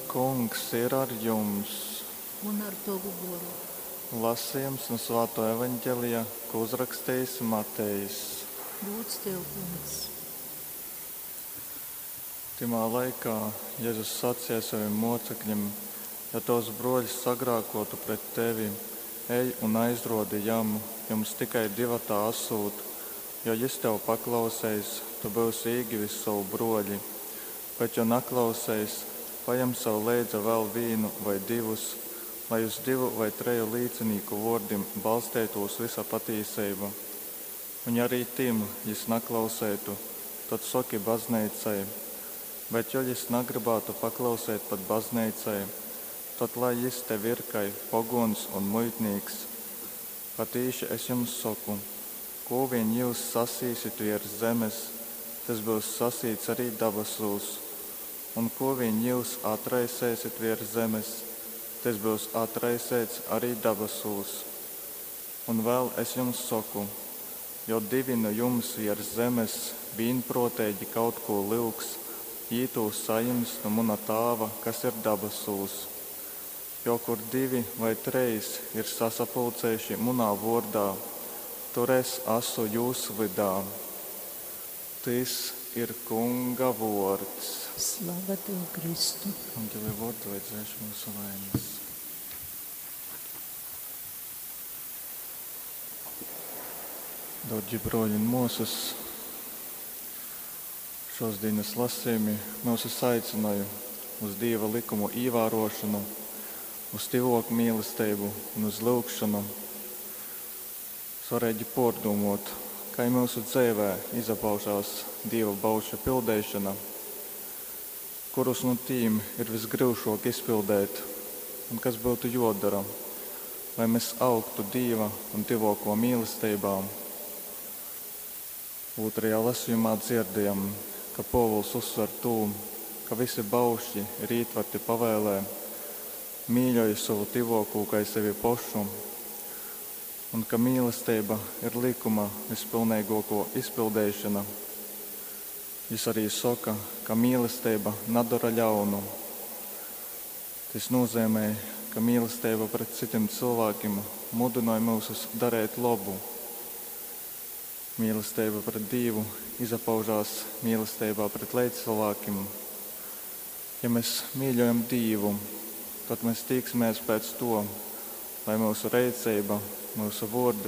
Kungs ir ar jums! Un ar tovu goru. Lasījums no Svāto evaņģelija, ko uzrakstījis Matejs. Gūds tev, kungs! Tymā laikā Jēzus sacīja saviem mocekļiem: Ja tavs broļs sagrākotu pret tevi, ej un aizrodi jam, jums tikai divatā esot, jo jis tev paklauseis, tu būsi īgivis savu broļi. Bet, jo naklauseis, pajem sev leidza vēl vīnu vai divus, lai uz divu vai treju līcinīku vōrdim balsteitūs vysa patīseiba. Un ja arī tim jis naklauseitu, tad soki bazneicai. Bet jo jis nagrybātu paklauseit pat bazneicai, tad lai jis tev ir kai pogōns un muitnīks. Patīši es jums soku, kū vīn jyus sasīsit viers zemes, tys byus sasīts arī dabasūs, un kū vīn jyus atraiseisit viers zemes, tys byus atraiseits arī dabasūs. Un vēl es jums soku, jo divi nu jums viers zemes vīnprōteigi kaut kū lyugs, jī tū sajims nu muna Tāva, kas ir dabasūs. Jo kur divi vai trejs ir sasapulcējuši munā vōrdā, tur es asu jūs vydā. Tys ir Kunga vōrds. Slava tev, Kristu! Evangelija vōrdu lai dzēš mūsu vainas. Dārgi broļi un mūsas, šos dienas lasījumi mūsus aicināja uz Dieva likumu ievērošanu, uz tyvōku mīlestību un uz lūgšanu. Svarīgi pārdomot, kā mūsu dzīvē izpaužās Dieva baušļu pildīšana, kurus no tīm ir visgrūšāk izpildīt un kas būtu jodara, lai mēs augtu Dieva un tyvōko mīlestībā. Otrajā lasījumā dzirdējam, ka Pōvils uzsver to, ka visi baušļi ir ietverti pavēlē: mīļoji savu tyvōkū kai sevi pašu, un ka mīlestība ir likuma vispilnīgāko izpildīšana. Jis arī saka, ka mīlestība nedara ļaunu. Tas nozīmē, ka mīlestība pret citiem cilvēkiem mudināja mūs darīt labu. Mīlestība pret Dievu izpaužās mīlestībā pret līdzcilvēkiem. Ja mēs mīļojam Dievu, tad mēs tīksimies pēc to, lai mūsu rīcība, mūsu vārdi un